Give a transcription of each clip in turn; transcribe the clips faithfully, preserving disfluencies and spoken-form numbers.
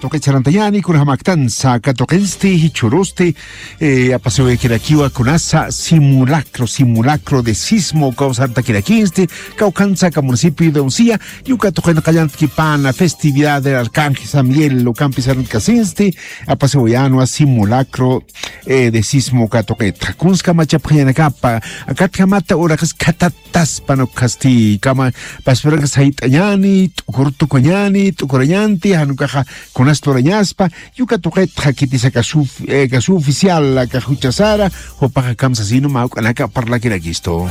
tuqi charantañani, kunjamaktansa katuqinsti, jichhurusti, eh, apasiwayakirakiwa kunasa simulacro, simulacro de sismo, kawsartakirakinsti, kawkhansa ka municipio de Uncía, yuka tuqin qallantkipana, festividad del Arcángel San Miguel, ukampi sarantkasinsti, apasiwayanwa simulacro, eh, de sismo katuqitxa. Kunska machapxañanakapa, akatjamata uraqis khatat taspan ukhasti kama, pasparakas sayt'añani, t'ukur tukuñani, t'ukurañanti, janukaxa kunas lurañaspa, yuka tuqitxa khitis aka suf-, eh, aka suficial, aka juchasara, jupaxa kamsasinu mä uk'anaka parlakirakistu.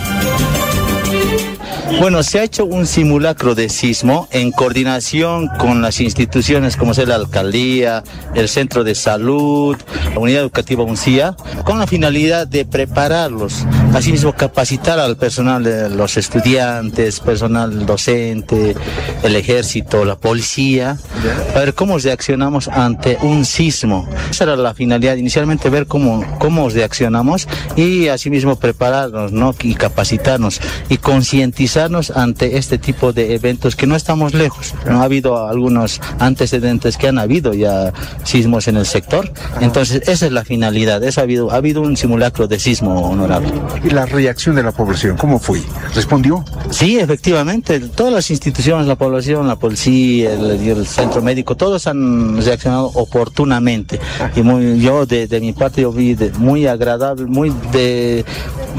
Bueno, se ha hecho un simulacro de sismo en coordinación con las instituciones como es la alcaldía, el centro de salud, la unidad educativa Uncía, con la finalidad de prepararlos, asimismo capacitar al personal, de los estudiantes, personal docente, el ejército, la policía, para ver cómo reaccionamos ante un sismo. Esa era la finalidad inicialmente, ver cómo, cómo reaccionamos y asimismo prepararnos, ¿no? Y capacitarnos y concientizarnos ante este tipo de eventos que no estamos lejos. No ha habido algunos antecedentes que han habido ya sismos en el sector. Entonces, esa es la finalidad. Eso ha habido, ha habido un simulacro de sismo, honorable. ¿Y la reacción de la población, cómo fue? ¿Respondió? Sí, efectivamente, todas las instituciones, la población, la policía, el, y el centro médico, todos han reaccionado oportunamente. Y muy, yo de, de mi parte, yo vi de, muy agradable, muy de,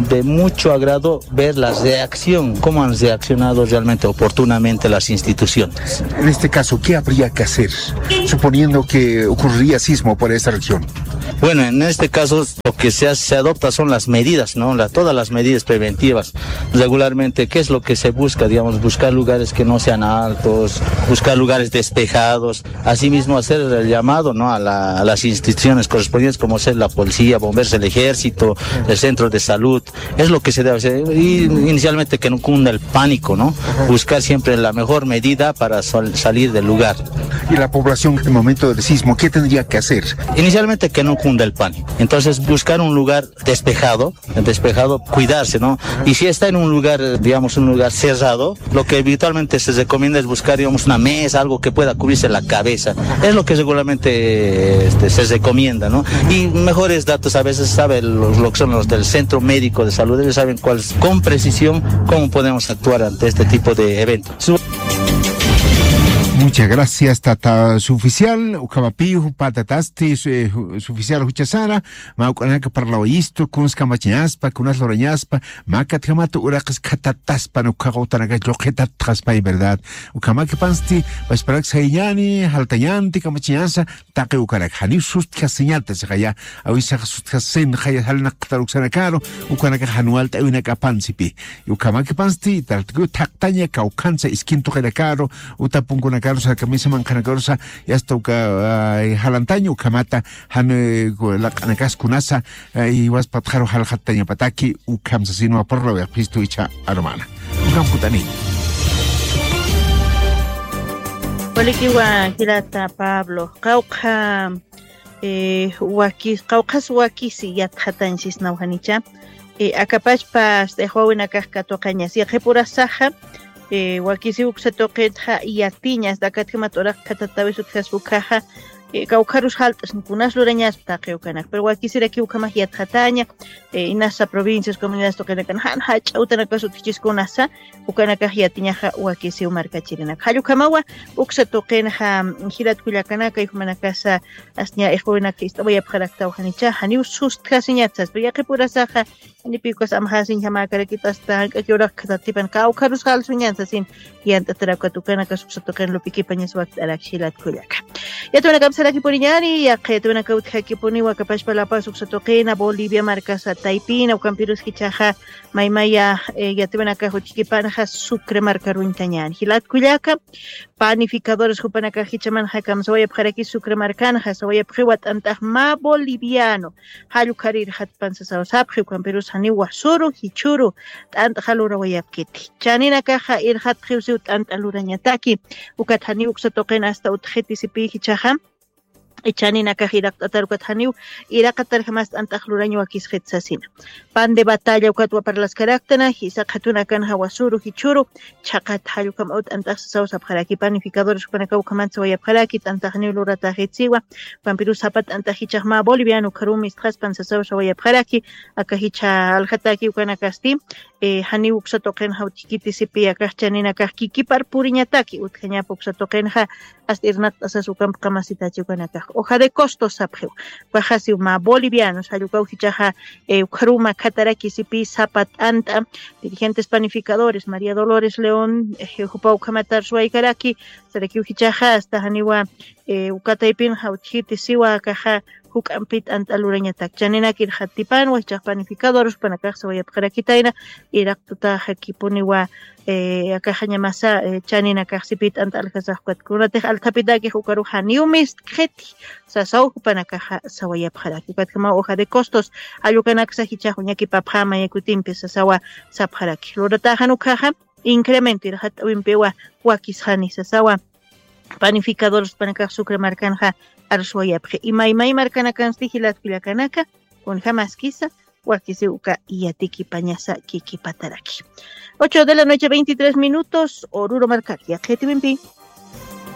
de mucho agrado ver la reacción, cómo han reaccionado realmente oportunamente las instituciones. En este caso, ¿qué habría que hacer, suponiendo que ocurriría sismo por esa región? Bueno, en este caso, lo que se hace, se adopta son las medidas, ¿no? La, todas las medidas preventivas. Regularmente, ¿qué es lo que se busca? Digamos, buscar lugares que no sean altos, buscar lugares despejados, asimismo hacer el llamado, ¿no? A la, a las instituciones correspondientes, como ser la policía, bomberos, el ejército, el centro de salud. Es lo que se debe hacer. Y inicialmente que no cunda el pánico, ¿no? Buscar siempre la mejor medida para sol-, salir del lugar. ¿Y la población en el momento del sismo qué tendría que hacer? Inicialmente que no cunda el pánico. Entonces buscar un lugar despejado, despejado, cuidarse, ¿no? Y si está en un lugar, digamos, un lugar cerrado, lo que habitualmente se recomienda es buscar, digamos, una mesa, algo que pueda cubrirse la cabeza. Es lo que regularmente, este, se recomienda, ¿no? Y mejores datos a veces saben los, lo que son los del centro médico de salud, ellos saben cuál, con precisión cómo podemos actuar ante este tipo de eventos. Muchas gracias, tata suficial. Ukhamapi, jupatatasti, su, eh, ju-, suficial juchasara, mä uk'anaka parlawayistu, kuns kamachañaspa, kunas lurañaspa, mä katjamata uraqis khatataspan, ukhaqa utanaka lluqhitatxaspa, en verdad. Ukhamakipansti, pasparak sayñani, jaltañanti, kamachañasa, taqi ukanaka. Janiw sustjasiñata, siqaya, awisax sustjasin, jaya, jalnaqtar uksanakaru, ukanaka jan walt'awinakapansipi. Ukhamakipansti, tartiku thaqtaña, kawkhansa, iskin tuqinakaru, uta punkunakaru, sarkamisa manqhanakarusa, yasta uka, ay, jalantaña, ukhamata, jan, eh, ku-, laq'anakas kunasa, ay, waspatxaru jalxattañapataki, ukham sasinwa parlawayapxistu icha armana. Ukham kutani. Walikiwa jilata Pablo, qawqha, eh, wakis, qawqhas wakisi yatxatañ sisnaw janicha. Eh, akapachpa, este, wawinakax katuqañas. Yaqhipurasaxa, eh, wakisi uksa tuqitxa yatiñas, dakatkimat uraq khatatawis utjas ukhaxa, eh, kawkharus jalt'as, kunas lurañaspa taqi ukanak. Pero wakisiraki ukhamax yatxataña, eh, inasa provincias, comunidades tuqinakan, jan jach'a utanakas utjchiskunasa, ukanakax yatiñaxa wakisiw markachirinak. Jall ukhamawa, uksa tuqinxa, jilat kullakanaka, jumanakasa, asña iqwinak ist'awayapxaraktaw janicha, janiw sustjasiñat saspa, yaqhipurasaxa, janipi ukas amxasiñjamäkarakit asta, jank'aki uraq khatatipan, kawkharus jalsuñan sasin, yant'atarakat ukanakas uksa tuqin lupikipañas wakt'arak jilat kullaka. Yatwanakap sarakipuniñani, yaqha yatwanaka utjakipuniwa akapachpa La Paz uksa tuqina, Bolivia markasa taypina, ukampirus jichhaxa, maymaya, eh, yatwanaka utjakipanxa Sucre markaruñtañani. Jilat kullaka, panificadores jupanakax jichhamanxa kamsawayapxaraki Sucre markanxa, sawayapxiwa t'ant'ax mä boliviano, jall ukhar irxatpan sasaw sapxi, ukampirus janiw wasuru, jichhuru, t'ant'xa lurawayapkiti. Chaninakaxa irxatxiw siw t'ant'a lurañataki, ukat janiw uksa tuqin asta utjiti sipi jichhaxa, Chaninakax iraqt'atar ukat janiw iraqatar jamas t'ant'ax lurañ wakisxit sasina. Pan de batalla ukat waparlaskaraktana jisaq jatunakan jawasuru jichhuru chhaqat jallukamaw t'ant'ax sasaw sapxaraki panificadores jupanakaw ukhamat sawayapxaraki t'ant'axniw lurataxitsiwa. Ukampiru sapa t'ant'ax jichhax mä boliviano ukharum istxaspan sasaw sawayapxaraki. Aka jichha aljataki ukanakasti janiw uksa tuqinxa utjkiti sipi akax chaninakax kikipar puriñataki utjañapa uksa tuqinxa. Asta irnaqt'asas ukampi qamasitachi ukanakax hoja de costos sapxiw. Ukaxasiw mä bolivianos jallukaw jichhaxa ukharuma khataraki sipi sapa t'ant'a dirigentes panificadores maría dolores león jupa ukhamatar suwaykaraki. Sarakiw jichhaxa asta janiwa ukataypinxa utjiti siwa akaxa juk'ampit t'ant'a lurañatak chaninakir jatipanwa jichhax panificadores jupanakax sawayapxarakitayna. Iraqtutaxakipuniwa akaxañamasa chaninakax sipit t'ant'a aljasax ukat kunatix althapitakixa ukarux janiw mistkxiti sasaw jupanakaxa sawayapxaraki ukatjamaw hoja de costos. Jallukanaksa jichhax uñakipapxama yakutimpi sasawa sapxaraki lurataxan ukhaxa incremento irxat'awimpiwa wakisxani sasawa. Panificadores panakax sucre markanxa arswayapxi imaymay markanakansti jilatkullakanaka kunjamaskisa wakisiw uka yatikipañasa kikipataraki. Ocho de la noche veintitrés minutos oruro markar yaqhitiwimpi.